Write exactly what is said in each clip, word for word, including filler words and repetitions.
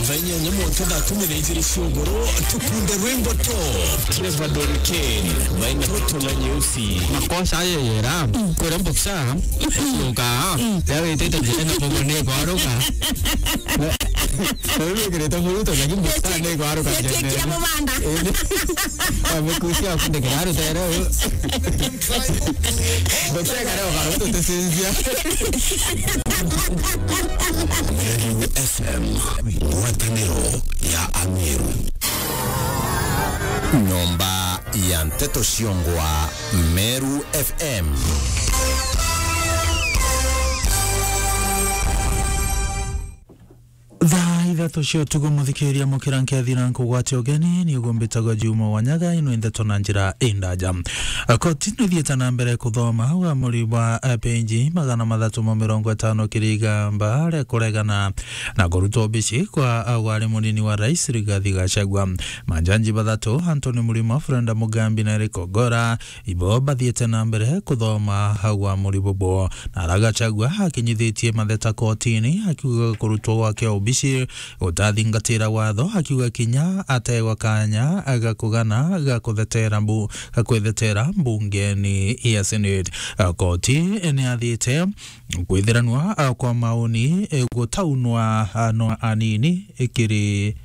Thaa inyanya mwanka thaa kumi na ijiri cia ugoro, tukunde rwimbo to Trevor Doriken, maina roto na nyeusi. Makosa ayo yera, kwira mboksa, yoka, ya witite njira na bobo ni kwaruka. Wewe kireta muruto, lakini mboksa ni kwaruka. Yetekia mubanda. Amekusia kunde kiraru tero. Mboksa kare ukaruto tesinzia. Meru F M, ngwataniro ya Ameru. Nyomba ya nteto ciongwa, Meru F M. Thaa ithatu cia utuku, muthikiria mukira nkethira nkugwatia ugeni, ni ugumbitagwa Juma Wanyaga, ino ndeto na njira indaja. Koti nithiite na mbere kuthoma uamuri bwa, eh, peji magana mathatu ma mirongo itano kiri igamba ria kuregana na kurutwa obici kwa, eh, wari munini wa rais Rigathi Gachagua. Majaji bathatu, Anthony Murima, Freda Mugambi na Eric Ogora, ibo bathiite na mbere kuthoma uamuri bubu. Na ara Gachagua akinyithitie matheta kotini, akiuga kurutwa gwake obici gutathingatira watho, akiuga kinya ategwa kanya ga kugana ga kuthetera mbu-, ga kwithetera mbungeni ya Senate. Koti ni athiite kwithiranwa kwa maoni gutaunwa no anini kiri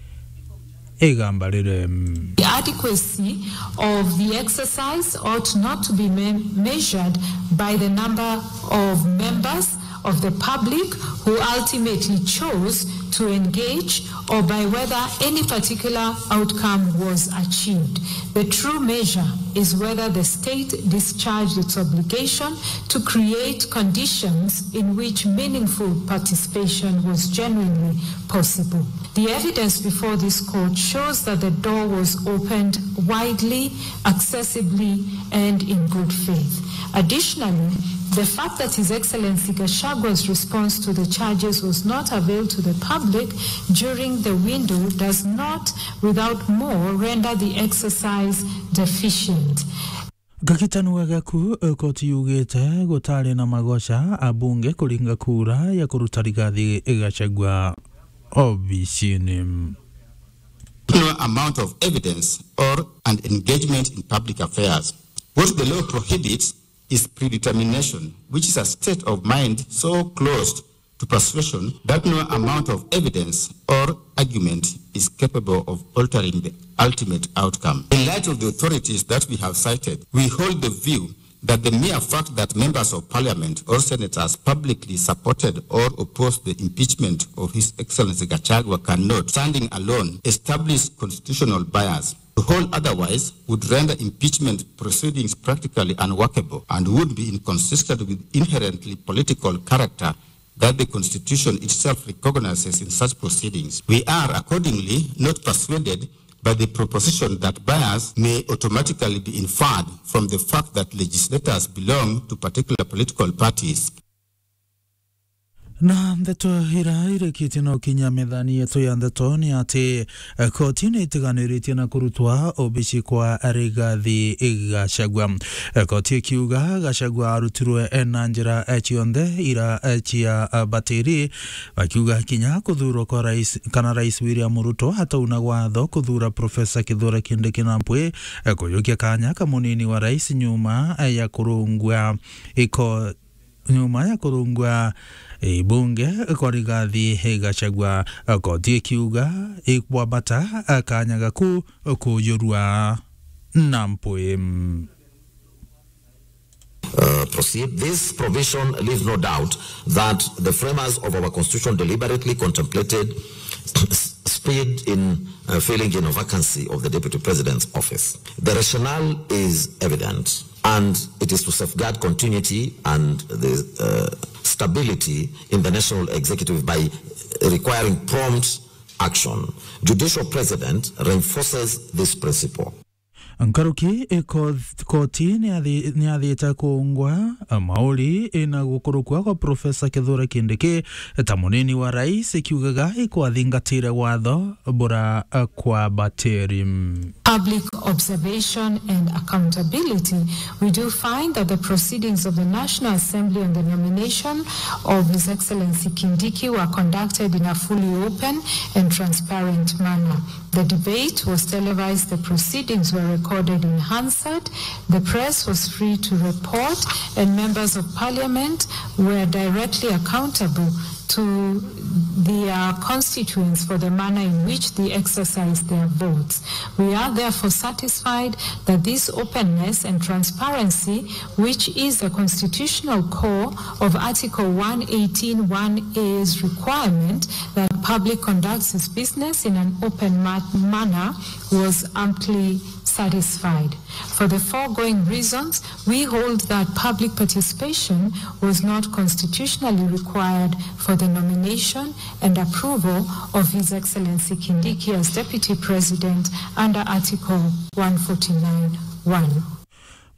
igamba riri. The adequacy of the exercise ought not to be me-, measured by the number of members of the public who ultimately chose to engage or by whether any particular outcome was achieved. The true measure is whether the state discharged its obligation to create conditions in which meaningful participation was genuinely possible. The evidence before this court shows that the door was opened widely, accessibly, and in good faith. Additionally, the fact that His Excellency Gashagua's response to the charges was not availed to the public during the window does not, without more, render the exercise deficient. Gakitanu gagaku, eh, koti yugite gutari na magoca abunge kuringa kura ya kuruta Rigathi Gachagua obicini. No amount of evidence or an engagement in public affairs. What the law prohibits is predetermination, which is a state of mind so closed to persuasion that no amount of evidence or argument is capable of altering the ultimate outcome. In light of the authorities that we have cited, we hold the view that the mere fact that members of parliament or senators publicly supported or opposed the impeachment of His Excellency Gachagua cannot, standing alone, establish constitutional bias. To hold otherwise would render impeachment proceedings practically unworkable and would be inconsistent with inherently political character that the Constitution itself recognizes in such proceedings. We are accordingly not persuaded by the proposition that bias may automatically be inferred from the fact that legislators belong to particular political parties. Na ndeto ira irikitie no kinya methani yetu ya ndeto ni ati, eh, koti ni itiganiritie na kurutwa obici kwa Rigathi Gachagua. Eh, koti ikiuga Gachagua arutirwe, eh, na njira, eh, cionthe ira, eh, cia, eh, batiri, bakiuga kinya kuthurwa kwa rais, kana Rais William Ruto atauna watho kuthura Professor Kithure Kindiki Nampwi, eh, kuyukia kanya ka munini wa rais nyuma, eh, ya kurungwa iko nyuma ya kurungwa, eh, bunge kwa Rigathi Gachagua, koti ikiuga ikwambata kanya gaku kujurua Nampwi. Uh, proceed. This provision leaves no doubt that the framers of our constitution deliberately contemplated speed in, uh, filling in a vacancy of the deputy president's office. The rationale is evident. And it is to safeguard continuity and the, uh, stability in the national executive by requiring prompt action. Judicial precedent reinforces this principle. Nkaruki, eh, ko-, koti ni athi-, ni athite kuungwa, eh, mauri, eh, na gukurukua kwa Professor Kithure Kindiki, eh, ta munini wa rais, ikiugaga ikwathingatire watho bura, eh, kwa batiri. Public observation and accountability, we do find that the proceedings of the National Assembly on the nomination of His Excellency Kindiki were conducted in a fully open and transparent manner. The debate was televised, the proceedings were recorded in Hansard, the press was free to report, and members of parliament were directly accountable to their constituents for the manner in which they exercised their votes. We are therefore satisfied that this openness and transparency, which is a constitutional core of Article one eighteen one A's requirement that public conducts its business in an open ma-, manner, was amply satisfied. For the foregoing reasons, we hold that public participation was not constitutionally required for the nomination and approval of His Excellency Kindiki as Deputy President under Article one forty-nine one.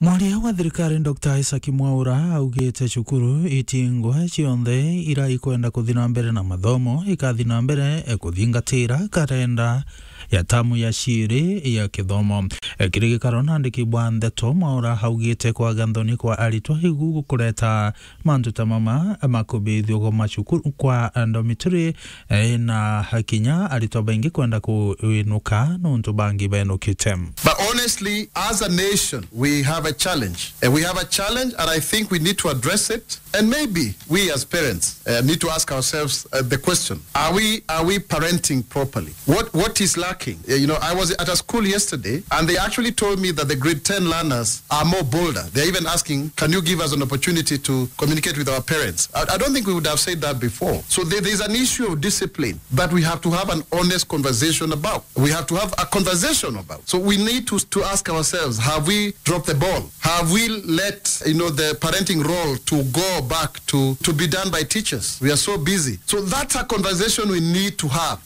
Mwaria wa thirikari Doctor Isaac Mwaura augite cukuru itingwa cionthe ira ikwenda kuthi na mbere na mathomo ikathi na mbere kuthingatira karenda ya tamu ya ciiri ya kithomo. Kiri gikaro na andiki bwa ndeto, Mwaura augite kwaga nthoni kwa aritwa igu gukureta mantu ta mama ma kubithua gwa macukuru kwa dormitory, eh, na kinya aritwa baingi kwenda kwinuka nontu bangi benukite. But honestly, as a nation, we have a challenge. And we have a challenge, and I think we need to address it. And maybe we as parents, uh, need to ask ourselves, uh, the question, are we, are we parenting properly? What, what is lacking? Uh, you know, I was at a school yesterday, and they actually told me that the grade ten learners are more bolder. They're even asking, "Can you give us an opportunity to communicate with our parents?" I, I don't think we would have said that before. So there, there's an issue of discipline that we have to have an honest conversation about. We have to have a conversation about. So we need to, to ask ourselves, have we dropped the ball? Have we let, you know, the parenting role to go back to, to be done by teachers? We are so busy. So that's a conversation we need to have.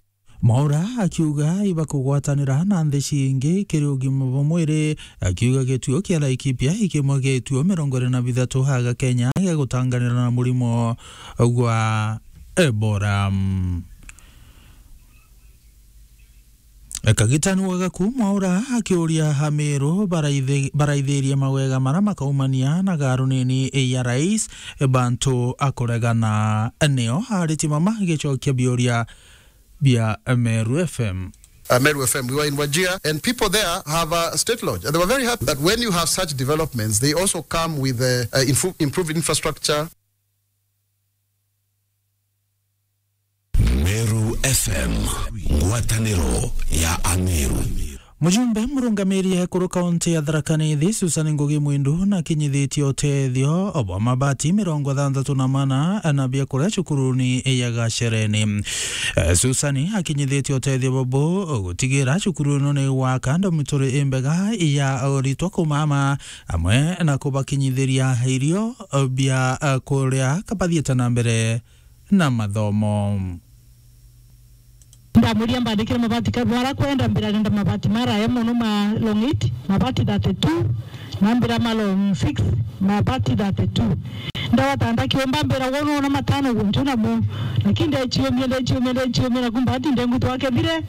Mwaura akiuga ibakugwatanira na nthi cingi kiri ugima bwa mwiri, akiuga gituo kia Laikipia ikimwe gituo mirongo iri na bithatu haga Kenya gia gutanganira na murimo gwa Ebola. Kagitani wa Gaku Mwaura akiuria Amiru baraithe-, baraithirie mawega mara makaumania na garu nini ya rais bantu akuregana. Nio ariti mama gicokia biuria bia Meru F M. Uh, Meru F M, we were in Wajir, and people there have a state lodge. And they were very happy that when you have such developments, they also come with, uh, uh, info-, improved infrastructure. Meru F M, ngwataniro ya Ameru. Mujumbe murungamiri ekuru kaunti ya Tharaka Nithi, Susan Ngugi Mwindu, nakinyithitie utethio bwa mabati mirongo thantatu na mana na biakuria cukuruni ya Gachereni. Eh, Susan akinyithitie utethio bubu gutigira cukuru ino ni gwaka dormitory imbega ya aritwa kumama, amwe na kubakinyithiria irio bia, eh, kuria kabathiite na mbere na mathomo. Ndamuria mbandikire mabati ka-, bara kwenda, mbira nenda mabati maraya mono ma long eight, mabati thirty-two, na mbira ma long six, mabati thirty-two. Ndawatanda kiumba mbira, "Wono na matano guntu namo." Lakini ndechiumia, ndechiumia, ndechiumia, na kumba ati ndengu twakethire,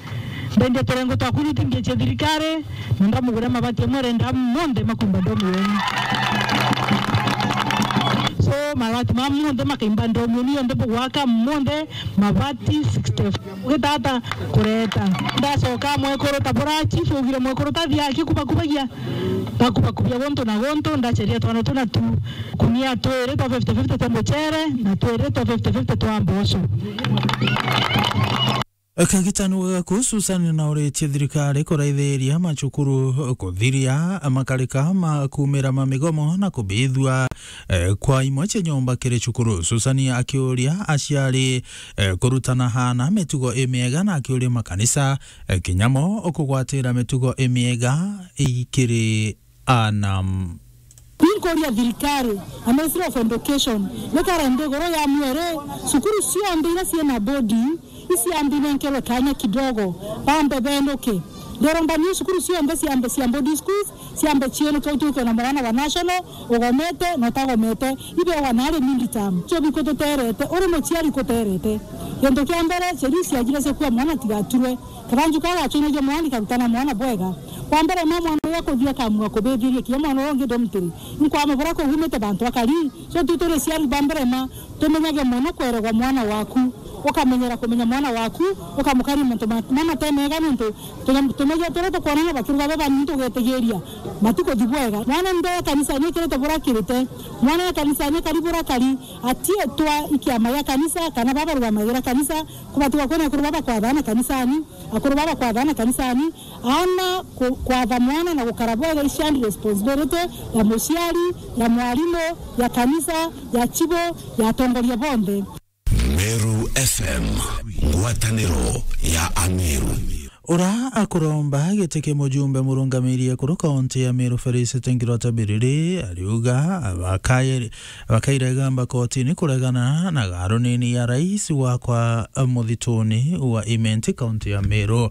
ndende turengo twa kuruti ngeche thirikari, na ndamugura mabati amwe arenda monthe makumba ndomu yenu. So, mabati ma monthe makaimba ndomu yenu yonthe bugwaka monthe mabati sixty-four. Gitata kureta. Ndacoka mwekuru ta bura chief ugire mwekuru tathia akikubakubagia. Takubakubia guntu na guntu, ndacheria twana tuna tu. Kunia twiri twa fifty fifty twa muchere, na twiri twa fifty fifty twa mboco. Kagitani wa Gaku Susan nauritie thirikari kuraithiria macukuru kuthiria makarika ma kumira ma migomo na kubithua, eh, kwa imwe cia nyomba kiri cukuru. Susan akiuria aciari, eh, kurutana hana mitugo imiega na akiuria makanisa, eh, kinya mo kugwatira mitugo imiega ikiri ana. Ninkuria thirikari na Ministry of Education, nikare nthiguru ya mwere, cukuru cionthe iria ciina boarding, iciambe inenkerwe kanya kidogo, bambe benuke. Ndiromba ni cukuru cionthe ciambe cia boarding schools, ciambe cienukwe, utuke na mwana wa national, ugomete na utagomete, ibewa nari mid term. Cio bikututerete, uri muciari kuterete. Kintu kia mbere, cieri ciajire cia kuua mwana tigaturwe. Kabanju kau gacunagia mwana, karutana mwana bwega. Kwa mbere, ma mwana uria kuthia kamua kubithiria kia mwana uria ungi dormitory. Inkwamubura kuu umite bantu akari. So, tu turi ciari ba mbere ma, tumenyage mono kweregwa mwana waku, ukamenyera kumenya mwana waku, ukamukaria mantu ma, ma mate mega, nontu tunya-, tumenyere turia tukwonana bakiruga baba, nontu ugetigiria matuku ti bwega. Mwana nde kanisa ni kirite bura kirite. Mwana ya kanisa ni kari bura kari, atietwa ikiama ya kanisa, kana baba rugamagira kanisa, kubatigwa kwina akuru baba kwathana kanisani, akuru baba kwathana kanisani, ana ku-, kwatha mwana na gukara bwega i shared responsibility ya muciari, ya mwarimu, ya kanisa, ya chibo, ya atongoria bonthe. Meru F M, ngwataniro ya Ameru. Ura akuromba giti kia mujumbe murungamiri ekuru kaunti ya Meru Felicity Nkirota Biriri ariuga bakaire-, bakairega mba kotini kuregana na garunini ya rais wa kwa muthituni wa Imenti kaunti ya Meru.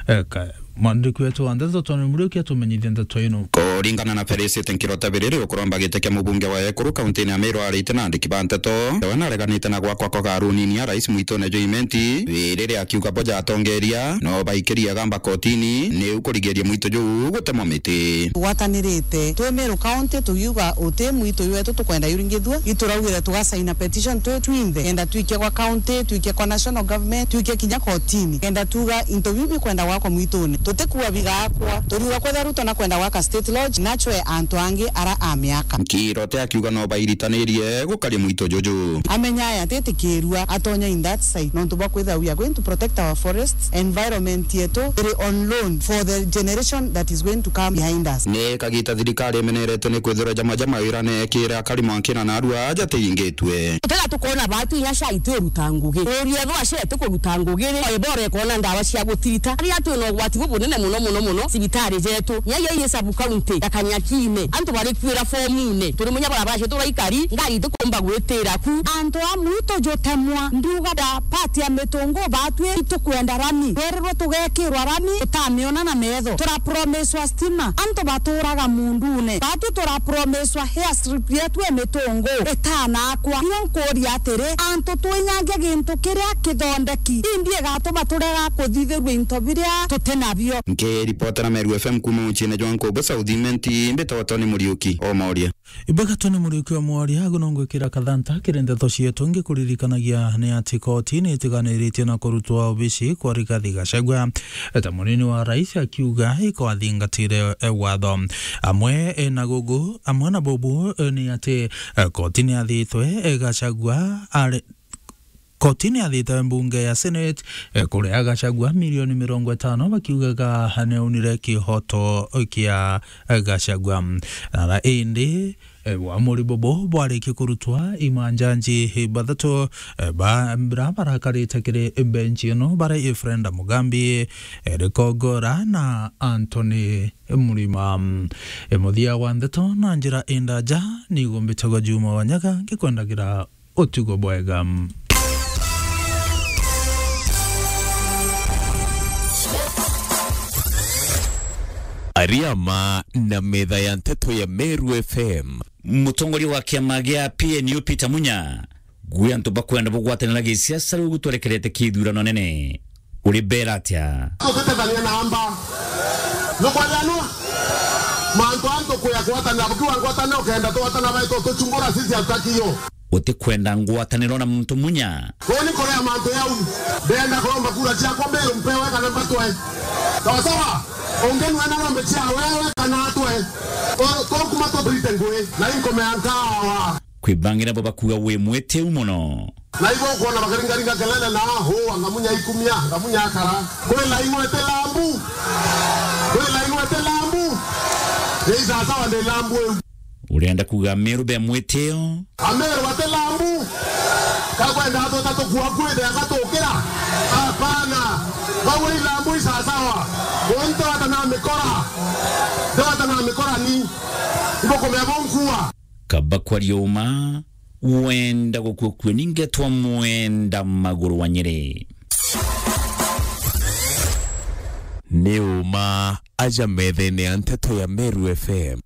Eka, mwandiki wetu wa ndeto Tony Muriuki atumenyithie ndeto ino. Kuringana na Felicity Nkirota Biriri, ukuromba giti kia mubunge wa ekuru kauntini ya Meru arite na andiki ba ndeto, we nareganite na gwakwa kwa garunini ya rais mwitune jwa Imenti, riria akiuga bo ja atongeria no baikirie gamba kotini, niu kurigiria mwito juu gutemwa miti. Tugwatanirite twi Meru County, tugiuga uti mwito jwetu tukwenda juringithua, ituraugire tugasaina petition twi twinthe, kenda twikie kwa county, twikie kwa national government, twikie kinya kotini, kenda tuga into biu bikwenda gwakwa mwitune. Tutikua bigakwa, turiuga kwethira Ruto nakwenda gwaka State Lodge, nachwe antu angi ara amiaka. Nkirota akiuga no bairitanirie gukaria mwito juju. Amenya aya atitikirua atonya in that side, nontu bwa kwithira we are going to protect our forests, environment yetu iri on loan for the generation that is going to come behind us. Ni kagita thirikari imenerete ni kwithirwa jama jama wira neekira akari mwankina na arua aja tiingitwe. Tena tukona batu inya cai twi uruta ngugi. Uria ethwa cai ti kuruta ngugi ri, ebora ekona ndawa cia gutirita. Aria twina ugwati bubunene muno, muno, muno, cibitari jetu. Nya iya iri sub county ya Kanyakine, antu bari kwira fomune. Turi munya barabara cietu uraikari, ngari itikumba gwitira ku. Antu a mwito jutemwa, ndiuga da part ya mitungu batwi itukwenda rami. Twererwe tugekirwa rami, tutamiona na metho. Turapromiswa stima, antu baturaga mundune. Batwi turapromiswa airstrip yetu e mitungu itanakwa. Ino nkuria atiri, antu twinyangia gintu kiria kithondeki, indi igatuma turega kuthithirua into biria tuti nabio. Nkiripotera Meru F M kuuma muciine jwa Nkubu South Imenti, mbitagwa Tony Muriuki o Moria. Ibwega Tony Muriuki wa Mwaria, agu no ngwikira kathanta kiri ndeto cietu. Ngikuririkanagia ni ati koti ni itiganiritie na kurutwa obici kwa Rigathi Gachagua ta munini wa rais, akiuga ikwathingatire, eh, watho. Amwe, eh, na gugu, amwe na bubu, eh, ni ati, eh, koti ni athitwe, eh, Gachagua ari Koti ni yathite mbunge ya Senate, eh, kuria Gachagua milioni mirongo itano, bakiugaga ni aunire kihoto kia Gachagua. Na indi, eh, uamuri bubu bwarikia kurutwa, imanjanji bathatu, eh, ba, bara barakarite kiri bench ino, bara Ephraim Mugambi, Eric Ogora na Anthony Murima. Eh, muthia wa ndeto na njira indaja, ni gumbitagwa Juma Wanyaga, ngikwendagira utugo bwega. Ariama na metha ya nteto ya Meru F M. Mutongoria wa kiama gia P N U Peter Munya, gwi antu bakwenda bugwatanira gisiasa riu gutwerekerete kithurano nene. Uri beera atia? Tutitethania na amba. Nukwarianwa? Mantu antu kuya kwatanira, bukiwa ngwatanira ukenda twatana baito tuchumbura sisi hatutaki hiyo. Utikwenda ngwataniro na muntu Munya? Kuni kuria mantu yau. Ndenda kuromba kura ciakwa mbiru mpewe kana mbatwe. Sawa sawa? Ungi nwena rombe cia wewe kana atwe. To, to kuma tuturite ngui. Na inkome ya nkawa. Kwi bangi nabo bakuuga wi mwitiu mono. Na ibo ukwona bakaringaringa kelele na, "Huu, anga Munya ikumia, anga Munya akara." Kwi laini wete lambu. Kwi laini wete lambu. Ni sasawa ndi lambu iu. Urenda kuuga Meru be mwitio? Ameru bate lambu. Kakwenda atweta tukua kwithe akatukira? Hapana. Bau i lambu i sasawa. Muntu atanaa mikora. Ndo atanaa mikora ni. Ibo kumea bonkua. Kaba kwaria uma, wenda gukua kue ningetwa mwenda maguru wa Nyeri. Ni uma aja methene ya nteto ya Meru F M.